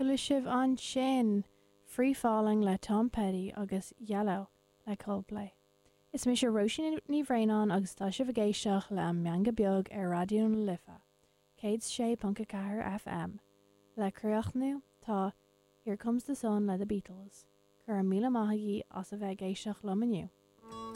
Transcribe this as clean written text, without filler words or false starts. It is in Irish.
Chuala sibh ansin Free Falling le Tom Petty agus Yellow le Coldplay. Is mise Róisín Ní Bhraonáin agus tá sibh ag éisteacht le An Meangadh Beag ar Raidió na Life, 106.4 FM. Le críochnú, tá Here Comes the Sun le The Beatles. Go raibh míle maith agaibh as a bheith ag éisteacht liom inniu.